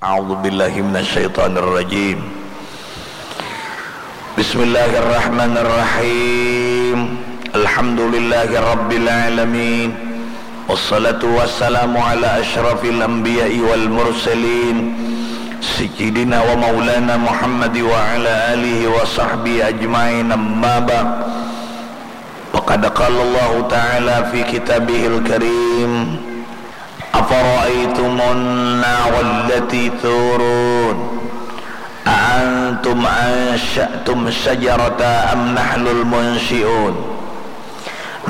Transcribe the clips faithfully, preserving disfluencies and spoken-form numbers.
أعوذ بالله من الشيطان الرجيم. بسم الله الرحمن الرحيم. الحمد لله رب العالمين. والصلاة والسلام على أشرف الأنبياء والمرسلين سيدنا ومولانا محمد وعلى آله وصحبه أجمعين. أما بعد. وقد قال الله تعالى في كتابه الكريم: أفرأيتم النار التي تورون أأنتم أنشأتم شجرتها أم نحن المنشئون؟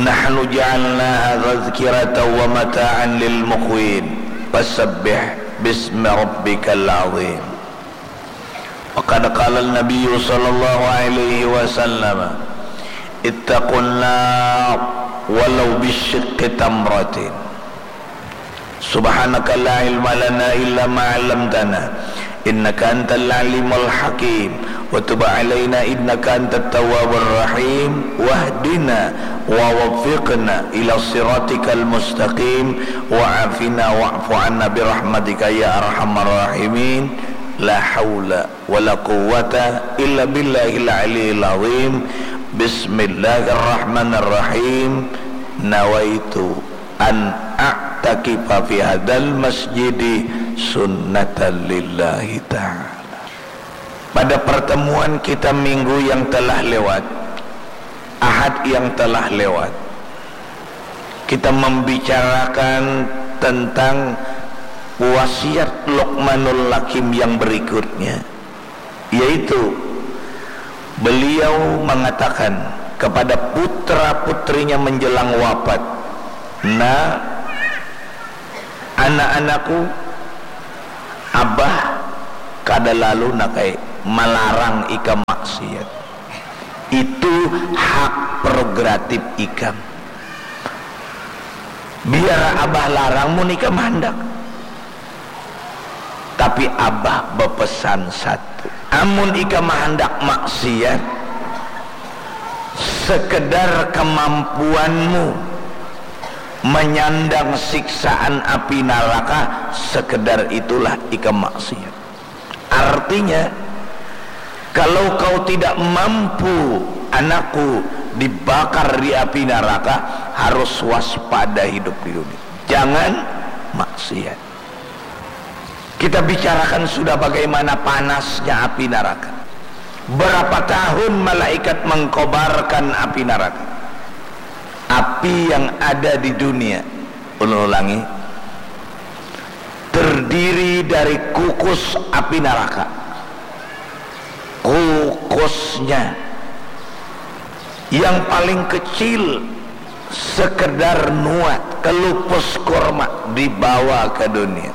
نحن جعلناها تذكرة ومتاعا للمقوين. فسبح باسم ربك العظيم. وقد قال النبي صلى الله عليه وسلم: اتقوا النار ولو بشق تمرة. سبحانك لا علم لنا إلا ما علمتنا إنك أنت العليم الحكيم وتب علينا إنك أنت التواب الرحيم واهدنا ووفقنا إلى صراطك المستقيم وعافنا واعف عنا برحمتك يا أرحم الراحمين. لا حول ولا قوة إلا بالله العلي العظيم. بسم الله الرحمن الرحيم. نويت أن أعتكف في هذا المسجد سنة لله تعالى. Pada pertemuan kita minggu yang telah lewat, Ahad yang telah lewat, kita membicarakan tentang wasiat Luqmanul Hakim yang berikutnya, yaitu beliau mengatakan kepada putra-putrinya menjelang wafat, "Nak, anak-anakku, abah kada lalu nak ai malarang ikam maksiat. Itu hak prerogatif ikam. Biar abah larang mun ikam handak. Tapi abah bepesan satu. Amun ikam handak maksiat, sekedar kemampuanmu menyandang siksaan api neraka, sekedar itulah ikam maksiat." Artinya, kalau kau tidak mampu, anakku, dibakar di api neraka, harus waspada hidup di dunia. Jangan maksiat. Kita bicarakan sudah bagaimana panasnya api neraka. Berapa tahun malaikat mengkobarkan api neraka? Api yang ada di dunia, ulun ulangi, terdiri dari kukus api neraka. Kukusnya yang paling kecil sekedar nuat kelupus kurma dibawa ke dunia.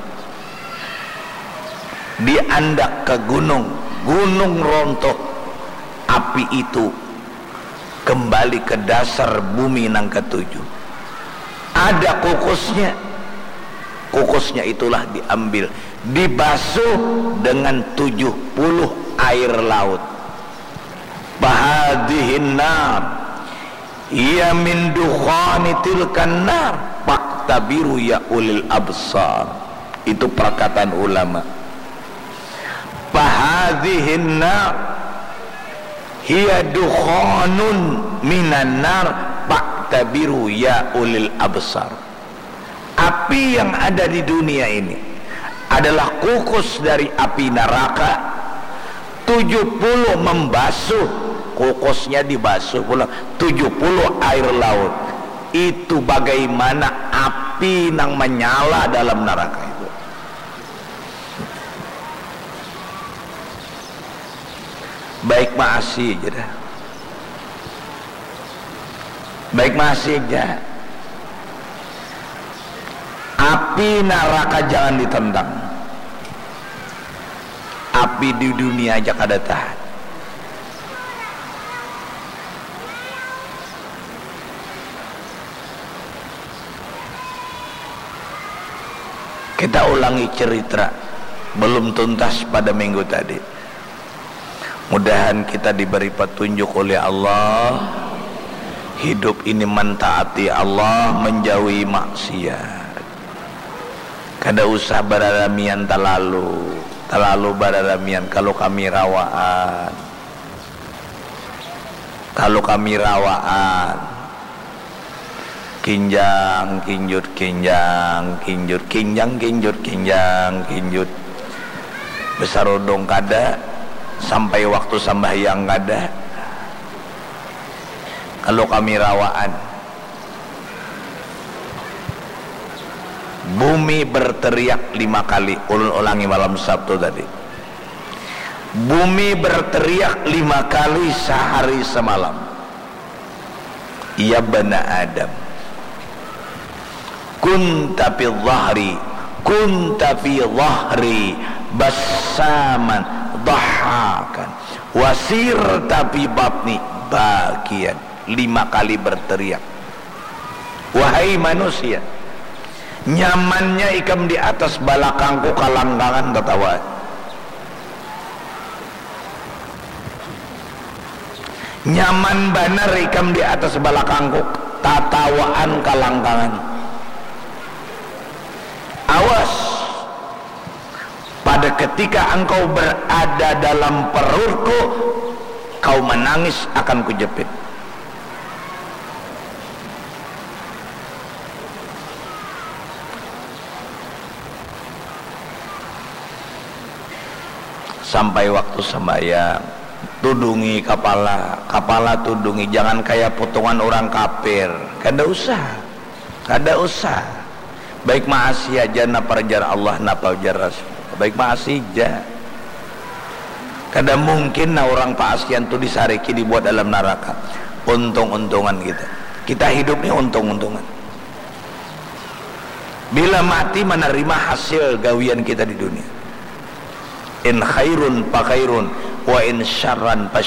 Diandak ke gunung, gunung rontok, api itu kembali ke dasar bumi nang ketujuh. Ada kukusnya. Kukusnya itulah diambil, dibasuh dengan tujuh puluh air laut. Fahadhihin nar hiya min dukhani tilkan nar, faktabiru ya ulil absar. Itu perkataan ulama. Fahadhihin nar hiya dukhanun minan nar, faktabiru ya ulil absar. Api yang ada di dunia ini adalah kukus dari api neraka. Tujuh puluh membasuh, kukusnya dibasuh pula tujuh puluh air laut. Itu bagaimana api nang menyala dalam neraka itu. Baik maasi aja dah. Baik maasi aja. Api neraka jangan ditentang. Api di dunia aja kada tahan. Kita ulangi cerita belum tuntas pada minggu tadi. Mudahan kita diberi petunjuk oleh Allah. Hidup ini mentaati Allah, menjauhi maksiat. Kada usah bararamian talalu, talalu bararamian kalu kami rawaan. Kalu kami rawaan. Kinjang kinjut kinjang kinjut kinjang kinjut kinjang kinjut. Besarudung kada, sampai waktu sambahyang kada. Kalu kami rawaan. Bumi berteriak lima kali. Ulun ulangi malam Sabtu tadi. Bumi berteriak lima kali sehari semalam. Ya bana Adam. Kunta fi dhahri, kunta fi dhahri, bassaman, dhahakan, wasirta fi batni, bakian. Lima kali berteriak. Wahai manusia, nyamannya ikam di atas balakangku kalangkangan tatawa. Nyaman banar ikam di atas balakangku, tatawaan kalangkangan. Awas, pada ketika engkau berada dalam perutku, kau menangis akan kujepit. Sampai waktu sembahyang, tudungi kapala, kapala tudungi, jangan kaya putungan urang kapir, kada usah, kada usah, baik maasi aja napa jar Allah, napa jar Rasul, baik maasi ja, kada mungkin nah urang paasian tu disariki dibuat dalam naraka, untung-untungan kita, kita hidup ni untung-untungan. Bila mati manarima hasil gawian kita di dunia. In khairun fa khairun, wa in syarran fa